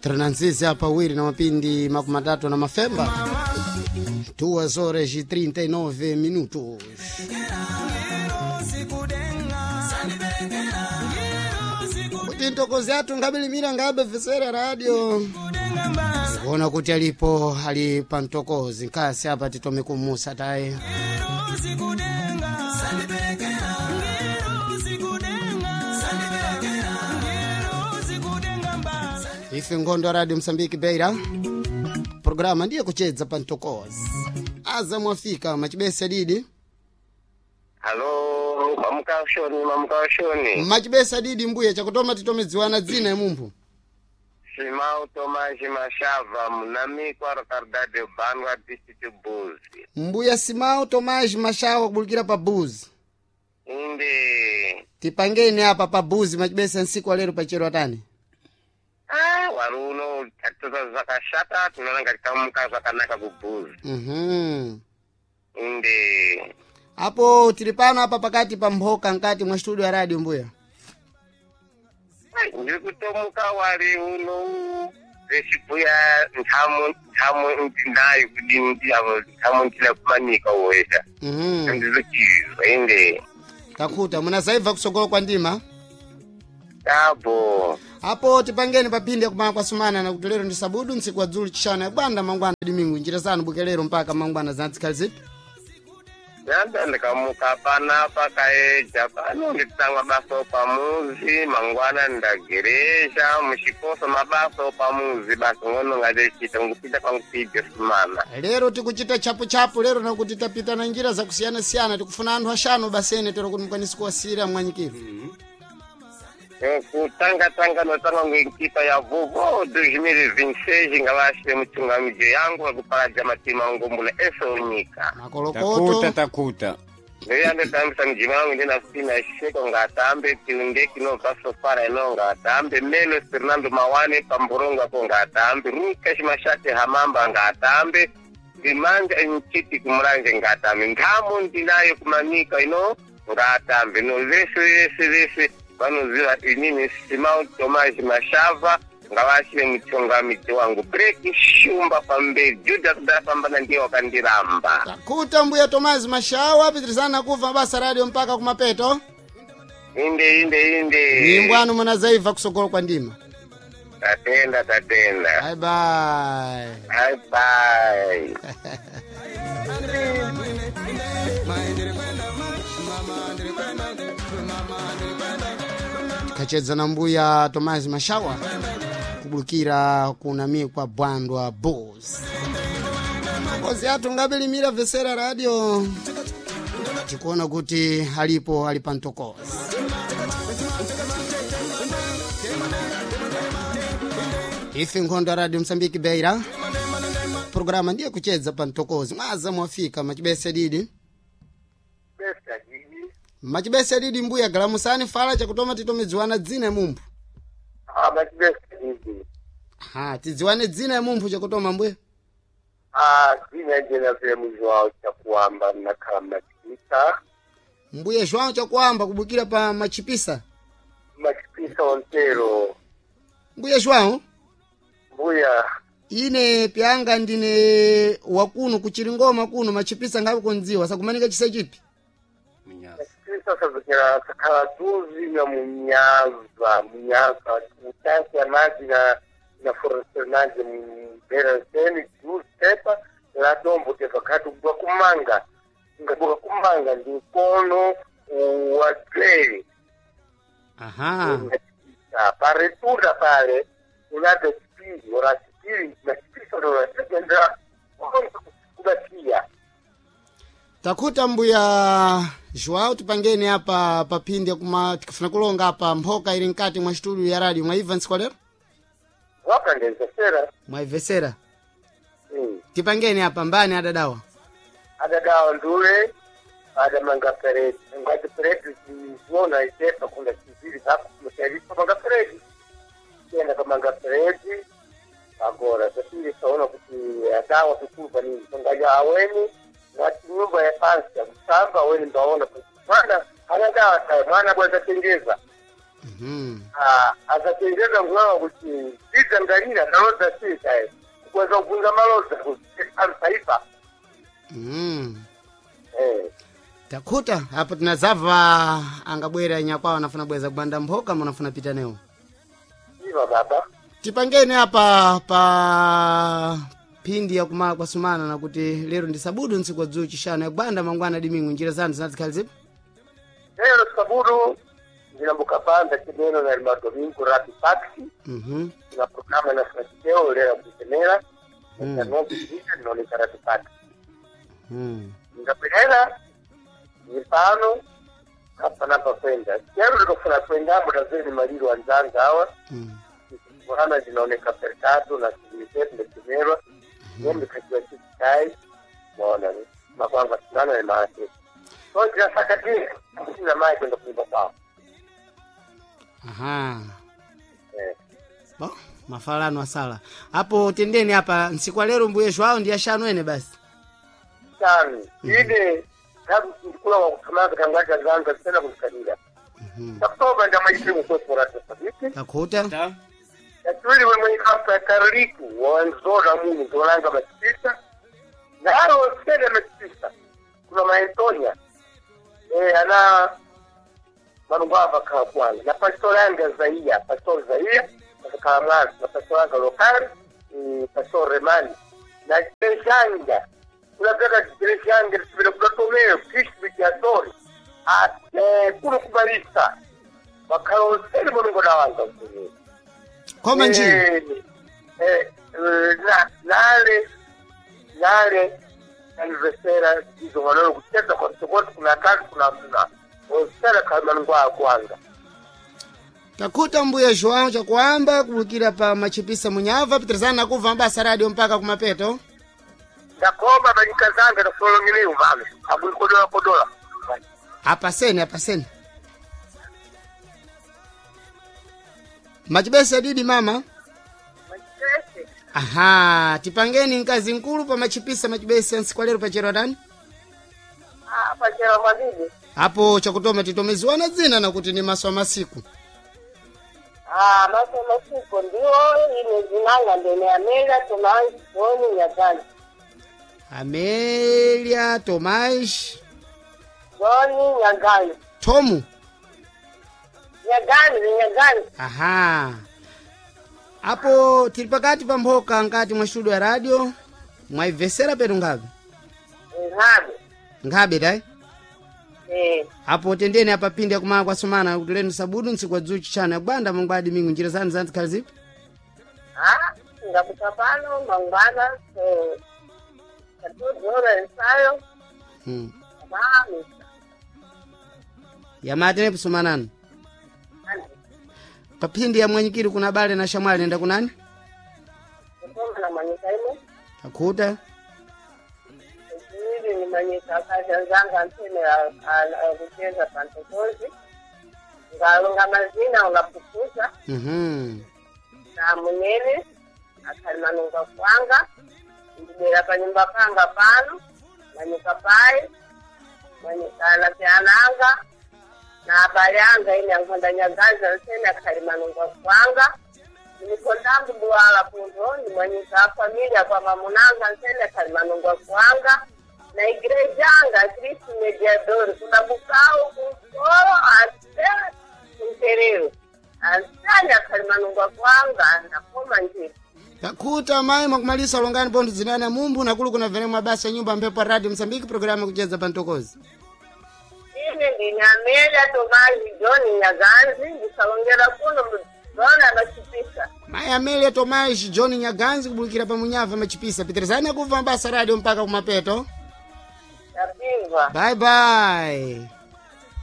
Trananzizi apa wiri na mapindi 30 na mafemba 2 horas e 39 minutos. Kuti ntokozi athu ngabilimira ngabe vesera radio kuona kuti alipo ali pa mtokozi nkasi apa titome kumusa taye. Ife ngondo ya Radio Msambiki Beira, programa ndiye kuchedza pa mtokozi aza mwafika machibesa didi. Halo, mamukashoni, mamukashoni. Machibesa didi mbuya chakutoma titomedziwana dzina emumphu. Simao Tomaji Mashava, munamikwa Rocardade Bandwa District Buzi. Mbuya Simao Tomaji Mashawa kubulukira pa Buzi. Inde. Tipangeni apa pa Buzi machibesa nsiku alero pachero atani. Ah, waruno tatoza zvakashata tinoona ngati kamuka zvakanaka kuBuzi. Inde. Apo tili pano apa pakati pa mphoka nkati mwa studio ya radio mbuya. Ai, ndiri kutomuka wari uno vechibhuya ntamo ntamo ndinayo kudini ndiyavo ntamo ndina kumanika wesha. Ndinochizwa inde. Takhuta munasaibva kusogolo kwa ndima. Tabo. Apo tipangeni paphindi yakumana kwasumana na kuti lero ndi sabudu ntsiku wa dzulu chishanu yakubanda mangwana dimingu njira zanu bukelero mpaka mangwana zantsikhali zipi. Yanda ndikamuka panapa kaeja pano nditanga basa pamuzi mangwana ndageresha muchikoso mabasa pamuzi basa ngono ngatichita ngupita pangupidyo sumana. Lero tikuchita chapuchapu lero nakuti tapita na njira zakusiyana-siyana tikufuna anthu axanu basene tero kuti mukwanisi kuwasira mwanyikiro. Kutanga tanga notanga ngenkipa ya vovo 2026 ngavashe muchungamidzo yangu vakuparaja matima ngombula ese onyika. Makolokoto. Takuta takuta. Ndeyandotambisa mujima wangu ndinasina sheko ngatambe tiunde kinobva sofara ino ngatambe melo Fernando Mawane pamborongo apo ngatambe Rukash Mashate Hamamba ngatambe ndimanja nchiti kumuranje ngatambe nthamo ndinayo kumanika ino ngatambe no vese vese vese vanoziva inini Simao Tomaji Mashava ngavashe muchongamidzi wangu breki shumba pamberi Judas dafambana ndiye wakandiramba. Takuta mbuya Tomazi Mashawa pitirizana kuva basa radio mpaka kumapeto. Inde inde inde. Nyimbo anu munazaibva kusogolo kwa ndima. Tatenda, tatenda. Bye bye. Bye bye. Kachedza na mbuya Tomazi Mashawa kubulukira kunami kwa Bwandwa Bulls. Kozi athu ngabilimira vesera radio tikuona kuti alipo ali pa mtokozi. Ife nkhondo ya radio Msambiki Beira, programa ndiye kuchedza pa mtokozi mwaza mwafika machibese didi. Machibese didi mbuya galamusani fala chakutoma titomedziwana dzina ya mumphu. Ah, machibese didi. Ha, tidziwane dzina ya mumphu chakutoma mbuya. Ah, dzina jena vile muzi wawo chakuamba nakhala machipisa. Mbuya João chakuamba kubukira pa machipisa. Machipisa ontero. Mbuya João, Mbuya. ine pyanga ndine wakuno kuchiringoma kuno machipisa ngabe kundziwa sakumanika chise chipi. Machipisa sazokera sakhala duzi na munyaza munyaza utansi ya maji na foresternage mberaseni duzi tepa la dombo tepa khati kubuka kumanga ngabuka kumanga ndi mkono wa dzere. Aha. Paretunda pale unade chipiri ora chipiri machipisa ora kubatia. Takuta mbuya João tipangeni apa paphindi kuma tikafuna kulonga apa mphoka ili mkati mwa studio ya radio mwaibva ntsiku lero Wakandenzesera. mwaibvesera. Tipangeni apa mbani adadawa. Adadawa ndule adamanga peredi ngati peredi ziona itepa kunda chiziri zako kumusharisa manga peredi tenda kamanga peredi agora zapiri saona kuti adawa kukuva nini ngaja aweni ngati nyumba ya pansi ya kusamba aweni ndaona kuti mwana anadawa tayo mwana bweza tengeza. Mhm. Asachenjeza ngulawa kuti idzangalira nalodza sikae kukweza kubvunza malodza kuti ansaipa. Mhm. Eh. Takhuta apo tinazava angabwera nyakwawo anafuna bweza kubanda mphoka munafuna pita newo. Iva baba. Tipangeni apa pa phindi yakumala kwasumana nakuti lero ndi sabudu ntsiku dzulo chishanu yakubanda mangwana dimingu njira zanu zinazikhali zipi? Lero sabudu ndinambukapanda chimeno na madomingo rapi taxi. Mhm. Na programa na franciseo lera kutemera. Mm. Ndinokuita ndinooneka rapi taxi. Ndingapelera mipano hapa napa kwenda kero ndikafuna kwenda mutazeni maliro anzanga awa. Kuhana zinaoneka perkado na sivilizetu ndekimerwa nembe kachiwa chichikai maona ni makwanga sinana ni maake so ndinasakatia kusina mai kwenda kuimba kwao. Aha. Eh. Bo, mafalano asala apo tendeni apa ntsiku lero mbuye Joao ndi ashanu ene basi. Tano ine ndikula wakuthamanga tangacha zanga zisena kuzikalira. Takutoba ndamaisimu kwesporatosabiki. Takhuta. Yachiwiri wemwe ikapa karliku wanzora munhu zolanga machipisa naro sene machipisa kuna maentonia ana manungu ava kakwana na pastor anga zaia pastor zaia akakhala mwazi na pastor anga lokali, pastor remani na chireshanga kunapeka chireshanga tisipita kudatomeo kristu bikiatori kuno kubalisa wakhala osene mulungu nawanga mkunyini. Koma njira. Nale nale anivesera izo walolo kucheza kwa sokoti kuna kazi kuna mna osera kama ngwa kwanga. Takhuta mbuye Joao chakuamba kubukira pa machipisa munyava pitirizana nakuva mbasa radio mpaka kumapeto. Ndakoma banyika zanga na solongele uvame abukodola kodola. Apaseni apaseni machibesa didi mama. Machibese. Aha, tipangeni mkazi nkulu pa machipisa machibesa nsiku lero pachero tani. Ah, pachero mwabidi. Apo chakutoma titomeziwana dzina nakuti ni maso masiku. Ah, maso masiku ndiwo ine zinanga ndene Amelia Tomás Joni Nyagani. Amelia Tomás Joni Nyagani. Tomu. Nyagani, Nyagani. Aha, apo tili pakati pa mphoka nkati mwa studio ya radio mwaibvesera petu ngabe. Ngabe. Ngabe dai. Eh. Apo tendeni apa pindi yakumala kwasumana kuti lenu sabudu ntsiku wa dzulo chishanu yakubanda mangwadi mingu njira zanu zanzikhali zipi? Ah, ngakuta pano mangwana katuzora ensayo. Mami. Yamate nepusumanani paphindi ya mwanyikiri kuna bale na shamwali nenda kunani? Kusoma na manyika imo. Akhuta. Ili ni manyika akazanzanga mpene kucheza pantokozi. Ngalonga mazina ungapukuza. Na munene akalimanunga kwanga ndibera panyumba panga pano manyika pai manyika anapyananga na abali anga ine ankhonda nyagaza nsene akhalimanunga kwanga ndikondambu buwala punto ndimanyika afamilia kwa mamunanga nsene akhalimanunga kwanga na igreja anga Kristu mediador kuna bukau kunkolo ate kunterero ansane akhalimanunga kwanga ndakoma njira. Takhuta mayi mwakumalisa ulongani pontho zinani amumbu nakulu kuna vene mwabasa ya nyumba mphepo ya radio Msambiki programu yakucheza pantokozi. Ine ndine Amelia Tomazi John Nyaganzi ndisalongera kuno mzona machipisa. Mayi Amelia Tomás John Nyaganzi kubulukira pa munyava machipisa pitirizani akuva mabasa radio mpaka kumapeto. Tapimva. Bye bye.